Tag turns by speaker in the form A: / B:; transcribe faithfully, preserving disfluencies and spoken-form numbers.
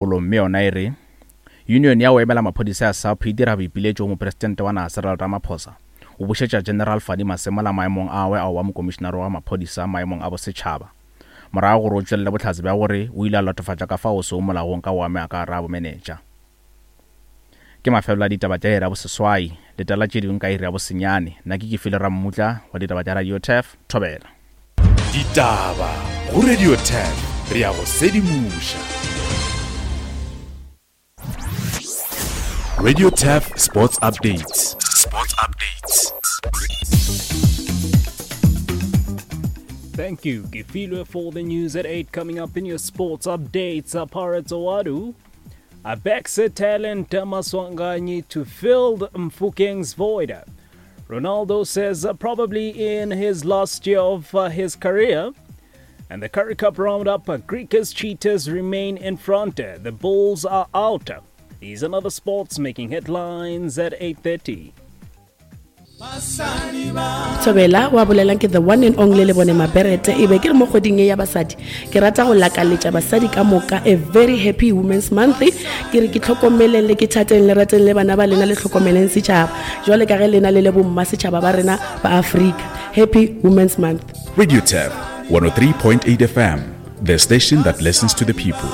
A: Mme yona e re Union ya go emela maphodisa ya SAPS e dira boipiletšo go Mopresidente wa naga Cyril Ramaphosa go bušetša General Fani Masemola maemong a gagwe a go ba Mokomišenare wa Maphodisa maemong a bosetšhaba morago gore o tšwelele bohlatse bja gore o ile a latofatša ka fao seo molaong ka go amega ka gare ga bomenetša. Ke mafelelo a ditaba tša iri ya boseswai. Letela tše dingwe ka iri ya bosenyane. Nna ke Kefilwe Rammutla wa ditaba tša Radio Turf. Thobela.
B: Ditaba go Radio Turf re a go sedimoša. Radio Turf Sports Updates. Sports Updates.
C: Thank you, Kefilwe, for the news at eight. Coming up in your sports updates, uh, Pirates Ouaddou backs talent Maswanganyi to fill Mofokeng's void. Ronaldo says uh, probably in his last year of uh, his career. And the Currie Cup roundup, uh, Griquas Cheetahs remain in front. The Bulls are out. These and other sports making headlines at eight thirty.
D: Thobela wa bolelang ke the one and only le bone Maberete. E be ke re mo kgweding ye ya basadi ke rata go lakaletša basadi ka moka a very happy Women's Month. Ke re ke tlhokomeleng le ke thateng le rateng le bana ba lena, le tlhokomeleng setšhaba jwale ka ge lena le le bomma setšhaba ba rena ba Afrika. Happy Women's Month.
B: Radio Turf one oh three point eight F M, the station that listens to the people.